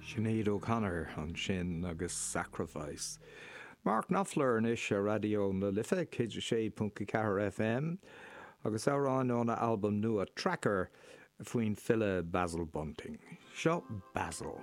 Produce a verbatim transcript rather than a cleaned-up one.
Sinéad O'Connor ansin agus Sacrifice. Mark Knopfler anois ar Raidió na Life céad a sé ponc ceathair FM agus amhrán óna albam nua Tracker faoin file Basil Bunting. Seo Basil.